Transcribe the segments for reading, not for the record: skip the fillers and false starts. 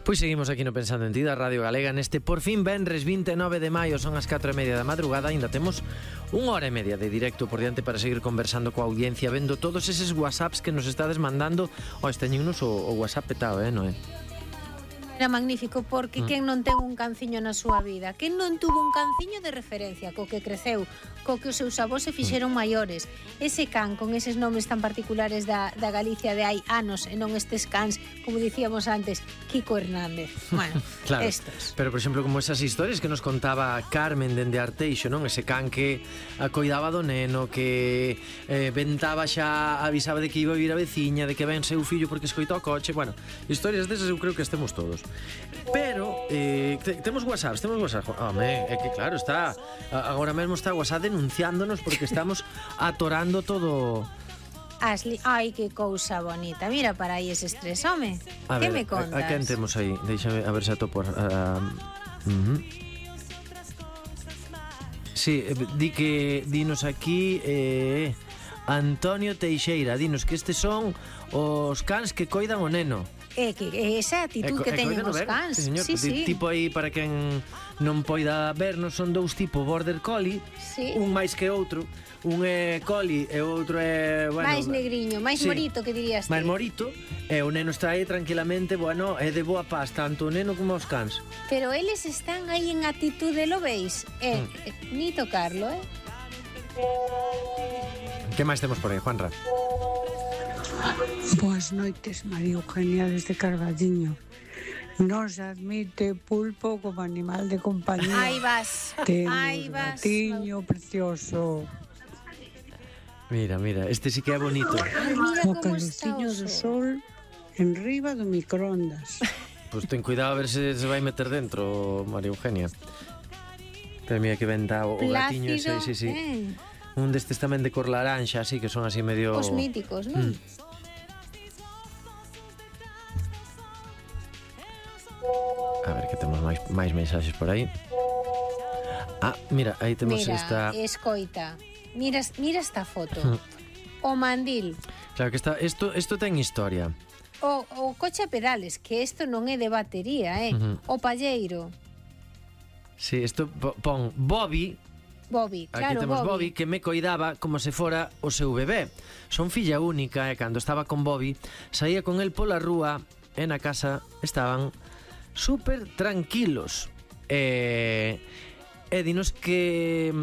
Pois seguimos aquí no Pensando en Ti da Radio Galega neste por fin venres 29 de maio, son as 4:30 da madrugada, ainda temos unha hora e media de directo por diante para seguir conversando coa audiencia, vendo todos eses whatsapps que nos estades mandando. Teñennos o whatsapp petado, non é? Era magnífico porque quen non ten un canciño na súa vida, quen non tuvo un canciño de referencia co que creceu, co que os seus avós se fixeron maiores, ese can con eses nomes tan particulares da Galicia de hai anos e non estes cans, como dicíamos antes, Kiko Hernández. Bueno, claro, estos. Pero, por exemplo, como esas historias que nos contaba Carmen dende Arteixo, non? Ese can que coidaba do neno, que ventaba xa, avisaba de que iba a vir a veciña, de que ven seu fillo porque escoitou o coche. Bueno, historias desas eu creo que estemos todos. Pero temos WhatsApp, Home, é que claro, está agora mesmo está WhatsApp denunciándonos porque estamos atorando todo. Ashley, ai, que cousa bonita. Mira para aí ese estrés, home. Que me contas? A quen temos aí? Déixame a ver se atopo. Sí, dinos aquí Antonio Teixeira, dinos que estes son os cans que coidan o neno. Que esa actitud que teñen os cans. Sí. Tipo aí, para quen non poida vernos, son dous tipos border collie, un máis que outro. Un é collie e o outro é, bueno, máis negriño, máis morito, que dirías ti. Máis morito, e o neno está aí tranquilamente, bueno, é de boa paz, tanto o neno como os cans. Pero eles están aí en actitude, lo veis? Ni tocarlo, Que máis temos por aí, Juanra? Boas noites, María Eugenia desde Carballiño. Non se admite pulpo como animal de compañía. Aí vas. Temos gatiño precioso. Mira, este sí que é bonito. O calorciño do sol en riba do microondas. Pois ten cuidado a ver se vai meter dentro, María Eugenia. Pero mira que venta o gatiño ese, sí. Un destes tamén de cor laranxa, así que son así medio... Os míticos, non? A ver que temos máis mensaxes por aí. Mira, aí temos esta... Escoita, mira esta foto. O mandil. Claro que isto ten historia. O coche a pedales, que isto non é de batería, O palleiro. Sí, isto pon Bobby, claro, aquí temos Bobby, que me coidaba como se fora o seu bebé. Son filla única e cando estaba con Bobby saía con el pola rúa e na casa estaban super tranquilos. E dinos que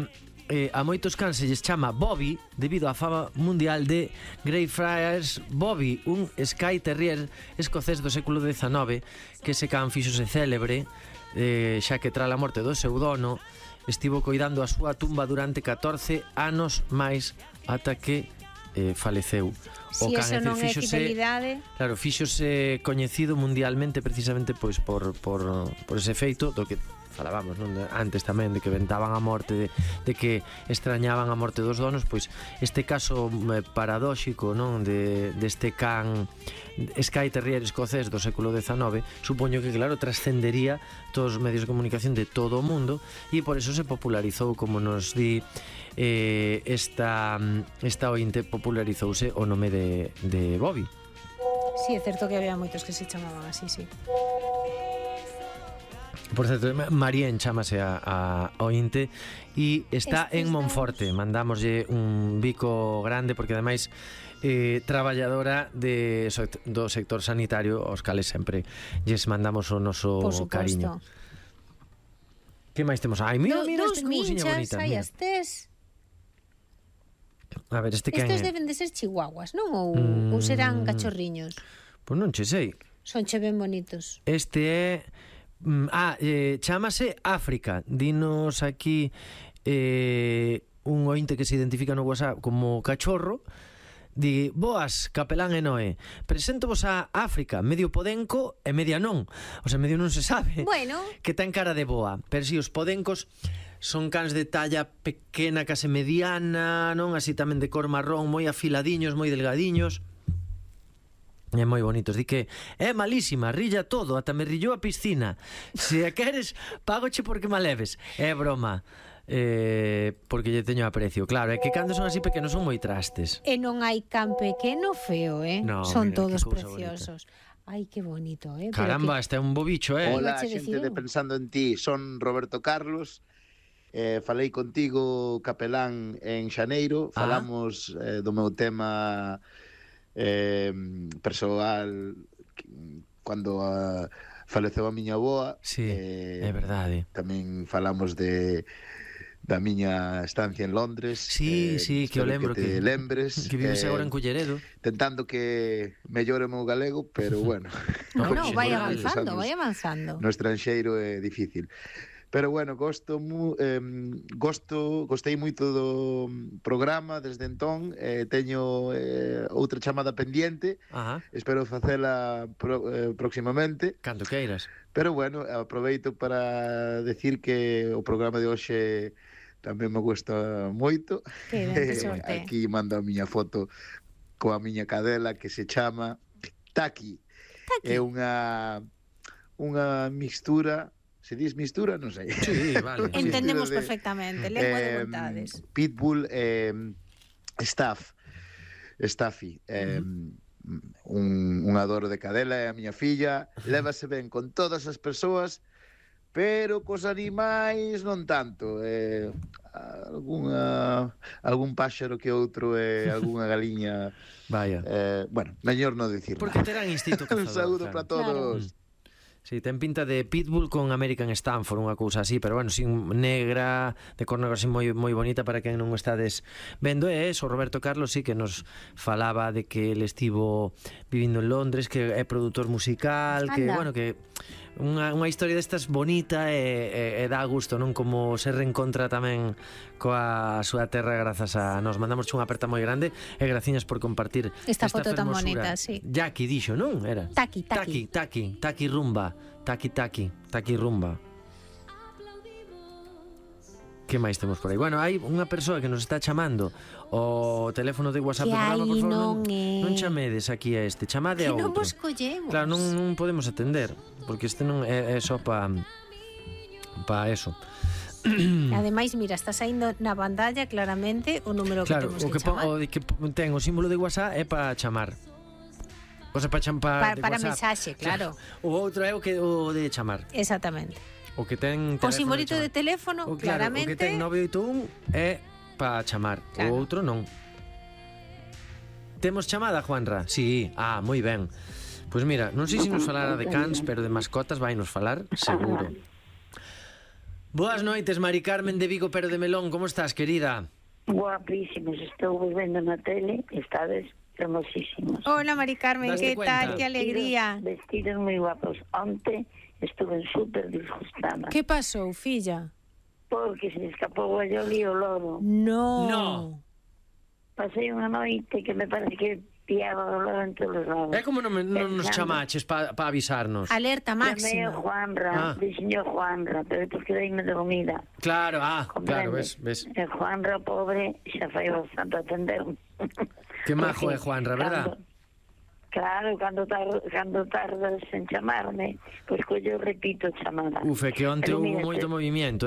a moitos cans se lles chama Bobby debido á fama mundial de Greyfriars Bobby, un Skye Terrier escocés do século XIX, que ese can fíxose célebre xa que tras a morte do seu dono estivo coidando a súa tumba durante 14 anos máis ata que faleceu. O can eso non é fidelidade. Claro, fíxose coñecido mundialmente precisamente pois por ese feito do que falábamos, non? Antes tamén de que ventaban a morte, de que extrañaban a morte dos donos, pois este caso paradóxico, non? Deste can Skye Terrier escocés do século XIX, supoño que claro trascendería todos os medios de comunicación de todo o mundo e por eso se popularizou, como nos di esta ointe, popularizouse o nome de Bobby. Sí, é certo que había moitos que se chamaban así, sí. Por certo, Marien chamase a ointe e está en Monforte. Mandámoslle un bico grande porque ademais traballadora do sector sanitario, aos cales sempre lles mandamos o noso cariño. Que máis temos? Ai, mira este cousiña bonita. Hai as tes. A ver, estes deben de ser chihuahuas, non? Ou serán cachorriños? Pois non che sei. Son che ben bonitos. Este é... chámase África. Dinos aquí un ointe que se identifica no WhatsApp como cachorro. Di: boas, capelán e Noé, preséntovos a África, medio podenco e media non. O sea, medio non se sabe. Bueno, que ten cara de boa. Pero si, os podencos son cans de talla pequena, case mediana, non? Así tamén de cor marrón, moi afiladiños, moi delgadiños. É moi bonitos. Di que é malísima, rilla todo, ata me rillou a piscina. Se a queres, págoche porque me leves. É broma. Porque lle teño aprecio. Claro, é que cando son así pequenos son moi trastes. E non hai can pequeno feo, No, son mira, todos preciosos. Bonita. Ai, que bonito, Caramba, este é un bo bicho, Hola, Ibache xente decir de eu. Pensando en Ti, son Roberto Carlos. Falei contigo, capelán, en xaneiro. Falamos do meu tema persoal cando faleceu a miña avoa. Sí, é verdade. Tamén falamos da miña estancia en Londres. Sí, que o espero lembro que te lembres. que vives agora en Culleredo. Tentando que mellore o meu galego, pero bueno. Bueno, Pois, vai moral, avanzando, vai avanzando. No estranxeiro é difícil. Pero bueno, gostei moito do programa desde entón. Teño outra chamada pendiente. Espero facela próximamente. Cando queiras. Pero bueno, aproveito para decir que o programa de hoxe tamén me gusta moito. Que ben, que sorte. Aquí mando a miña foto coa miña cadela que se chama Taki. É unha mixtura. Se dis mistura, non sei. Sí, vale. Entendemos perfectamente, lengua de vontades. Pitbull Staffy, un adoro de cadela, é a miña filla, lévase ben con todas as persoas, pero cos animais non tanto. Algún páxaro que outro e algunha galiña. Vaya. Bueno, mellor non dicir. Porque terán instinto cazador. Un saúdo para todos. Sí, ten pinta de Pitbull con American Stanford, unha cousa así, pero bueno, sin negra, de cor negra así moi bonita para quen non estades vendo. E eso, Roberto Carlos sí que nos falaba de que ele estivo vivindo en Londres, que é produtor musical, que bueno, que unha historia destas bonita e dá gusto, non? Como se reencontra tamén coa súa terra grazas a nos. Mandamos unha aperta moi grande e graciñas por compartir esta foto tan fermosura. bonita, sí. Jackie dixo, non? Era Taki rumba. Taki rumba. Que máis temos por aí? Bueno, hai unha persoa que nos está chamando o teléfono de WhatsApp do programa, por favor, non chamedes aquí a este, chamade a outro. Que non vos collemos. Claro, non podemos atender, porque este non é só pa eso. Ademais, mira, está saindo na pantalla claramente o número que temos que chamar. O que ten o símbolo de WhatsApp é para chamar. O sea, para mensaxe, claro. O outro é o de chamar. Exactamente. O que ten o simbolito de teléfono, claramente. O que ten 981 é para chamar, o outro non. Temos chamada, Juanra? Sí, moi ben. Pois mira, non sei se nos falara de cans, pero de mascotas vai nos falar, seguro. Boas noites, Mari Carmen de Vigo, pero de Melón, como estás, querida? Guapísimos, estou vendo na tele, estades hermosísimos. Hola, Mari Carmen, que tal? Que alegría. Vestidos moi guapos. Onte estuve super disgustada. Que pasou, filla? Porque se escapou a Yoli o loro. No. Pasei unha noite que me parece que piaba o loro en todos os lados. É como non nos chamaches para avisarnos? Alerta máxima. Chamei o Juanra, dixenio Juanra, pero depois quedeime dormida. Claro, claro, ves. E Juanra, pobre, xa fai bastante atender. Que majo é Juanra, verdad? Claro, cando tardas en chamarme, pois collo repito chamada. Que onte hubo moito movimiento.